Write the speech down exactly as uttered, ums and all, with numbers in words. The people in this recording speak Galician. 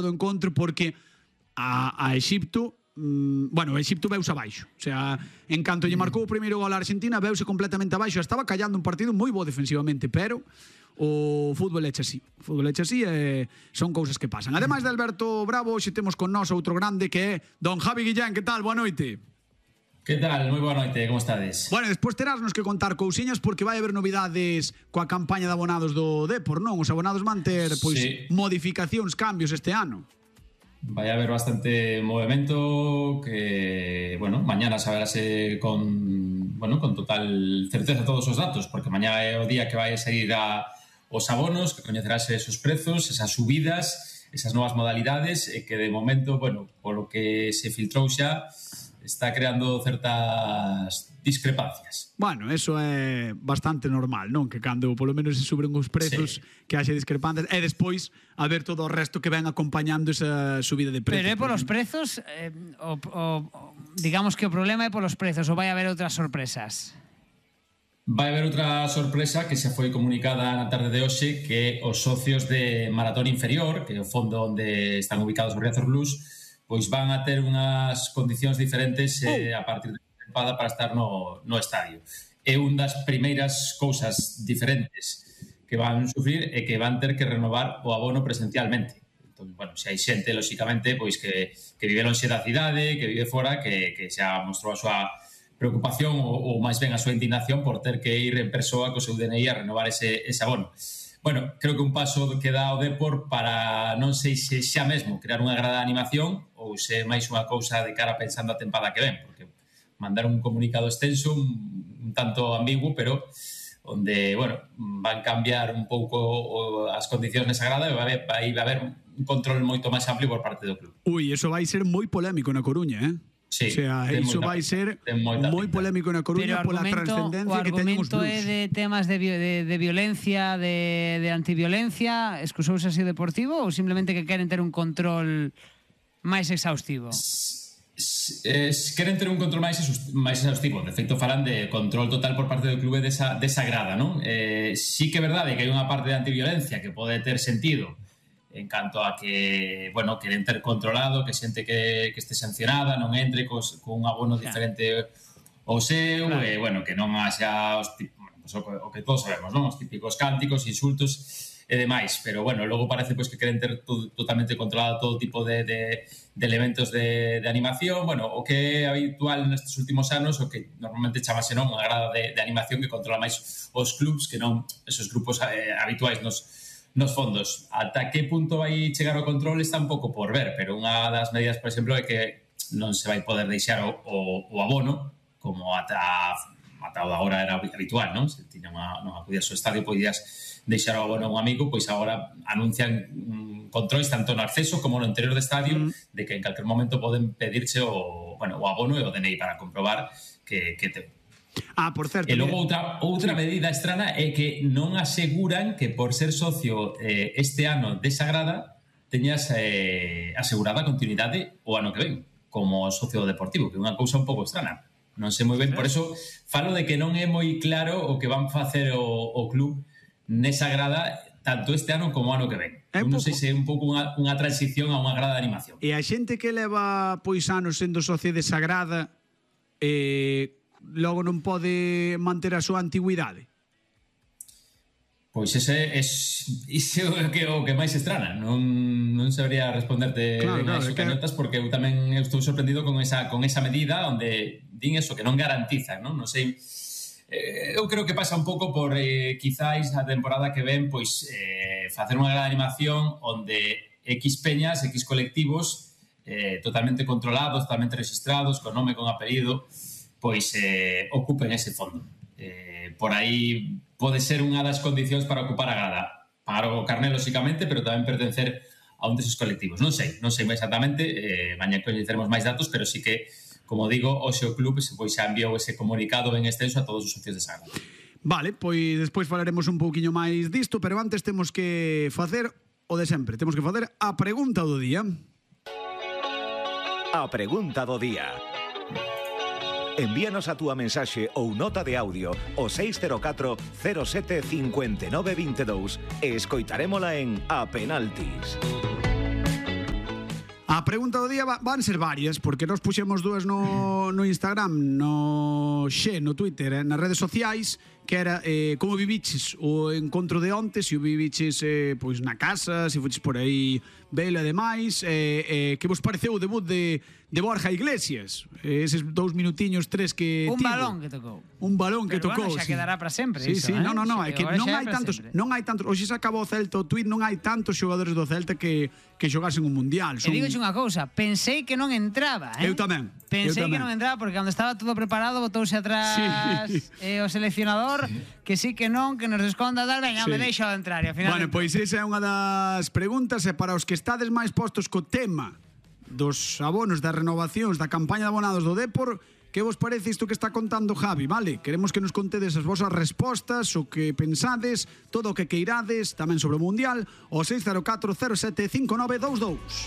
do encontro porque a, a Exipto, mm, bueno, Exipto veuse abaixo. O sea, en canto lle marcou o primeiro gol a Argentina, veuse completamente abaixo. Estaba callando un partido moi bo defensivamente, pero o fútbol eche así. O fútbol eche así e son cousas que pasan. Ademais de Alberto Bravo, hoxe temos con nós outro grande que é don Javi Guillén. Que tal? Boa noite. Que tal? Moi boa noite, como estades? Bueno, despois terásnos que contar cousiñas porque vai haber novidades coa campaña de abonados do Depor, non? Os abonados van ter, pois, sí, modificacións, cambios este ano. Vai haber bastante movimento que, bueno, mañana saberase con, bueno, con total certeza todos os datos, porque mañá é o día que vai seguir a, os abonos, que coñecerase esos prezos, esas subidas, esas novas modalidades, e que de momento, bueno, polo que se filtrou xa, está creando certas discrepancias. Bueno, eso é bastante normal, non? Que cando polo menos se suben os prezos, sí, que haxe discrepancias, e despois a ver todo o resto que ven acompañando esa subida de prezos. Pero é polos prezos, eh, o, o, digamos que o problema é polos prezos, ou vai haber outras sorpresas? Vai haber outra sorpresa que se foi comunicada na tarde de hoxe, que os socios de Maratón Inferior, que é o fondo onde están ubicados os Riazor Blues, pois van a ter unhas condicións diferentes eh, a partir de tempada para estar no, no estadio. É un das primeiras cousas diferentes que van sufrir e que van ter que renovar o abono presencialmente. Entón, bueno, se hai xente, lóxicamente, pois que, que vive lonxe da cidade, que vive fora, que, que xa mostrou a súa preocupación ou, ou máis ben a súa indignación por ter que ir en persoa co seu D N I a renovar ese, ese abono. Bueno, creo que un paso que dá o Depor para, non sei se xa mesmo, crear unha grada de animación ou se máis unha cousa de cara pensando a tempada que ven, porque mandar un comunicado extenso, un, un tanto ambiguo, pero onde, bueno, van cambiar un pouco as condicións nesa grada e vai, vai haber un control moito máis amplio por parte do club. Ui, eso vai ser moi polémico na Coruña, eh? Sí, o sea, iso vai ser moi polémico na Coruña pola trascendencia que teñen os Blues. O argumento é de temas de, de, de violencia, de, de antiviolencia, excusouse así deportivo, ou simplemente que queren ter un control máis exhaustivo? Es, es, queren ter un control máis, máis exhaustivo. De feito, falan de control total por parte do clube desa, desa grada, non? Eh, sí que é verdade que hai unha parte de antiviolencia que pode ter sentido en canto a que, bueno, queren ter controlado, que xente que, que este sancionada non entre cos, con un abono diferente ao seu, claro. E, bueno, que non haxa os, bueno, pues, o, o que todos sabemos, non? Os típicos cánticos, insultos e demais, pero, bueno, logo parece pois, que queren ter todo, totalmente controlado todo tipo de, de, de elementos de, de animación, bueno, o que é habitual nestes últimos anos, o que normalmente chamase, non, unha grada de, de animación que controla máis os clubs que non esos grupos eh, habituais nos nos fondos. Ata que punto vai chegar o control está un pouco por ver, pero unha das medidas, por exemplo, é que non se vai poder deixar o, o, o abono, como ata, ata agora era habitual, non? Se tiña unha, non acudías ao estadio, podías deixar o abono a un amigo, pois agora anuncian um, controis tanto no acceso como no interior do estadio, mm. de que en calquer momento poden pedirse o, bueno, o abono e o D N I para comprobar que, que te... Ah, por certo. E logo outra, outra sí. medida estrana é que non aseguran que por ser socio eh, este ano desa grada teñas eh, asegurada a continuidade o ano que ven como socio deportivo, que é unha cousa un pouco estrana. Non sei moi ben, por eso falo de que non é moi claro o que van facer o, o club nesa grada tanto este ano como o ano que ven. É non sei se é un pouco unha, unha transición a unha grada de animación. E a xente que leva pois anos sendo socio desa grada eh, logo non pode manter a súa antigüidade? Pois ese é iso é o que, o que máis estrana. Non, non sabría responderte claro, claro, cañotas que... porque eu tamén estou sorprendido con esa, con esa medida onde din eso, que non garantizan, non? Non sei... Eh, eu creo que pasa un pouco por eh, quizáis a temporada que ven pois eh, facer unha gran animación onde X peñas, X colectivos eh, totalmente controlados, totalmente registrados, con nome, con apelido, pois eh, ocupen ese fondo. Eh, por aí pode ser unha das condicións para ocupar a grada. Pagar o carné, lóxicamente, pero tamén pertencer a un deses colectivos. Non sei, non sei exactamente, eh, mañá coñeceremos máis datos, pero sí que, como digo, o seu club pois xa enviou ese comunicado ben extenso a todos os socios de grada. Vale, pois despois falaremos un pouquiño máis disto, pero antes temos que facer o de sempre. Temos que facer a pregunta do día. A pregunta do día. Envíanos a túa mensaxe ou nota de audio ao seis cero catro cero sete cinco nove dos dous e escoitarémola en A Penaltis. A pregunta do día va, van ser varias, porque nós puxemos dúas no, no Instagram, no Xe, no Twitter, eh, nas redes sociais, que era eh, como viviches o encontro de onte, se o viviches eh, pois na casa, se fuches por aí vela e demais, eh, eh, que vos pareceu o debut de, de Borja Iglesias, eh, eses dous minutiños, tres que Un tivo. balón que tocou. Un balón que Pero tocou. bueno, xa sí. quedará para sempre Sí, iso, sí, eh? no, no, no, Xa é que agora non xa é hai para tantos, sempre. non hai tantos, hoxe se acabou o Celta o tweet, non hai tantos xogadores do Celta que que xogasen un mundial. E digo unha cousa, pensei que non entraba, eh? Eu tamén. Pensei eu que tamén. non entraba porque cando estaba todo preparado botouse atrás Sí. eh, o seleccionador que sí que non, que nos desconta tal, veña, Sí. me deixo de entrar e ao final Bueno, pois esa é unha das preguntas e para os que estades máis postos co tema dos abonos, das renovacións, da campaña de abonados do Depor, que vos parece isto que está contando Javi, vale? Queremos que nos contedes as vosas respostas, o que pensades, todo o que queirades, tamén sobre o Mundial, o seis cero catro cero sete cinco nove dous dous.